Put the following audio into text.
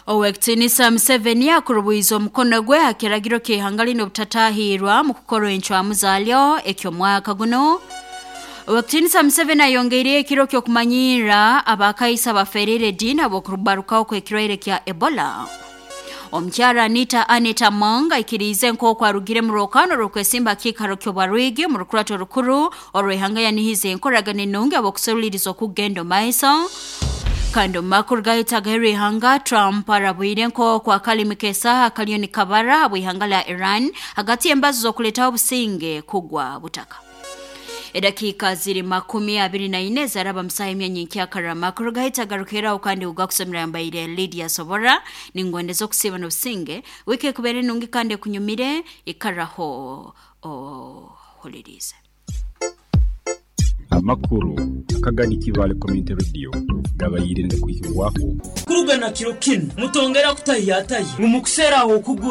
Owekitinisa Museveni akurubwiza omukono gwe ha kiragiro ky'ihanga lino obutatahirwa mu kukora encwamu zaalyo eky'omwaka guno. Owekitinisa Museveni ayongeireyo ekiro ky'okumanyirra abakaisa baferire ediini habw'okubarukaho kw'ekirwaire kya Ebola. Omukyara Anita Anita Among aikiriize nk'oku arugire mu rwokano rw'okwesimba kiikaro ky'obwarwigi mu rukurato rukuru orw'ihanga yanihize enkoragana enungi habw'okuseruliiriza okugenda omu maiso. Kandi omu makuru gaitu agaheru ihanga, Trump arabwire nk'oku akalimi k'esaaha kaliyo nikabara habw'ihanga lya Iran hagati y'embazo z'okuleetaho obusinge kugwa butaka. Edakiika ziri 24 zaraba musaha emyanya nkyakara. Amakuru gaitu agarukiraho kandi ugakusomera yambaire Lydia Sobora. Ningwendeza okusiiba n'obusinge, wiiki ekubeere nungi kandi ekunyumire. Ikaraho ohuliriize. Amakuru akagani Kibaale Community Radio gabaire nigakuhikibwaho. Kuruga na kiro kinu mutongera kutahya-tahya ngu mukuseera ah'okugura.